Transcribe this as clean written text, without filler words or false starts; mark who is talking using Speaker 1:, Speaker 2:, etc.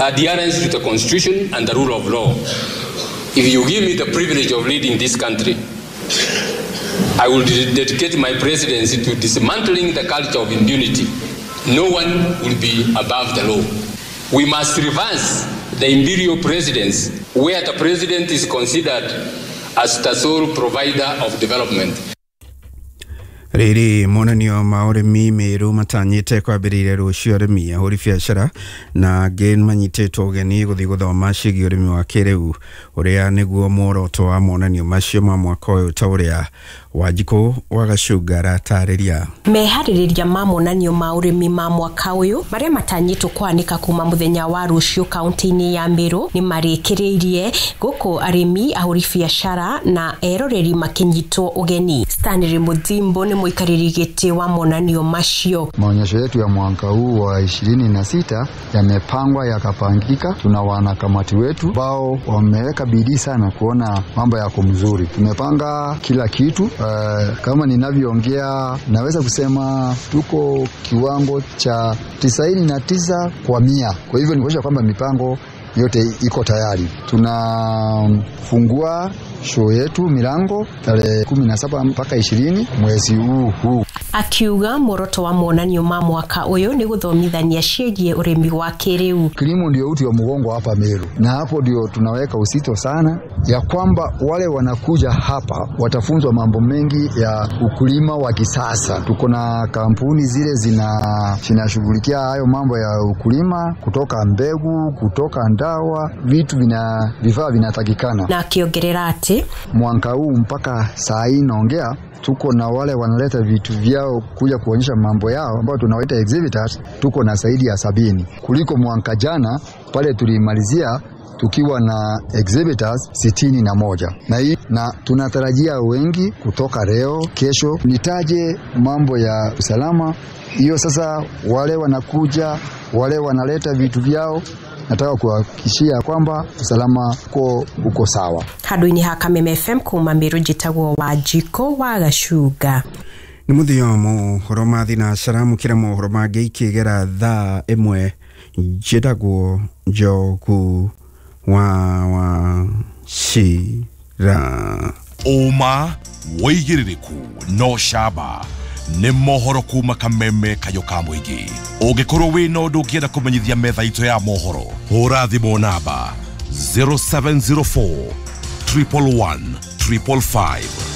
Speaker 1: Adherence to the Constitution and the rule of law. If you give me the privilege of leading this country, I will dedicate my presidency to dismantling the culture of impunity. No one will be above the law. We must reverse the imperial presidency, where the president is considered as the sole provider of development.
Speaker 2: Rĩrĩ monanio ma ũrĩmi Meru matanyĩte kwambĩrĩria rũciũ. Arĩmi, ahũri biacara na angĩ manyitĩtwo ũgeni gũthiĩ gũthoma ciĩgiĩ ũrĩmi wa kĩrĩu, ũrĩa nĩguo muoroto wa monanio macio ma mwaka ũyũ, ta ũrĩa Wanjikũ wa Gacunga aratarĩria.
Speaker 3: Meharĩrĩria ma monanio ma ũrĩmi ma mwaka ũyũ marĩa matanyĩtwo kwanĩka kuma mũthenya wa rũciũ kaunti-inĩ ya Meru nĩ marĩkĩrĩirie, gũkũ arĩmi, ahũri biacara na eroreri makĩnyitwo ũgeni. Stanley Muthimbo nĩ mũikarĩri gĩtĩ wa monanio macio.
Speaker 4: Maonyesho yetu ya mwaka huu wa 26 yamepangwa yakapangika. Tuna wanakamati wetu ambao wameweka bidii sana kuona mambo yako mzuri. Tumepanga kila kitu. Kama ninavyoongea, naweza kusema tuko kiwango cha 99%. Kwa hivyo ni kuonyesha kwamba mipango yote iko tayari. Tunafungua show yetu milango tarehe 17 mpaka 20 mwezi huu huu.
Speaker 3: Akiuga muoroto wa monanio ma mwaka ũyũ nĩ gũthomithania ciĩgiĩ ũrĩmi wa kĩrĩu.
Speaker 4: Kilimo ndio uti wa mgongo hapa Meru, na hapo ndio tunaweka usito sana ya kwamba wale wanakuja hapa watafunzwa mambo mengi ya ukulima wa kisasa. Tuko na kampuni zile zinashughulikia hayo mambo ya ukulima, kutoka mbegu, kutoka ndawa, vitu vina vifaa vinatakikana.
Speaker 3: Na akĩongerera atĩ
Speaker 4: Mwaka huu mpaka saa hii naongea, tuko na wale wanaleta vitu vyao kuja kuonyesha mambo yao ambao tunawaita exhibitors, tuko na zaidi ya 70 kuliko mwaka jana pale tulimalizia tukiwa na exhibitors 61, na hii na tunatarajia wengi kutoka leo kesho. Nitaje mambo ya usalama hiyo sasa, wale wanakuja, wale wanaleta vitu vyao, nataka kuhakikishia kwamba usalama uko sawa.
Speaker 3: Handũ-inĩ ha Kameme FM kuma Meru, njĩtagwo Wanjikũ wa Gacunga.
Speaker 2: Nĩ mũthia mohoro ma thinacara. Mũkĩra mohoro mangĩ ikĩgera thaa 1. Njĩtagwo Njogu wa Wachira.
Speaker 5: Ũma, wĩigĩrĩrĩku no camba nĩ mohoro kuma Kameme, kayũ ka mũingĩ. Ũngĩkorwo wĩna ũndũ ũngĩenda kũmenyithia metha itũ ya mohoro, hũra thimũ namba 0704 111 555.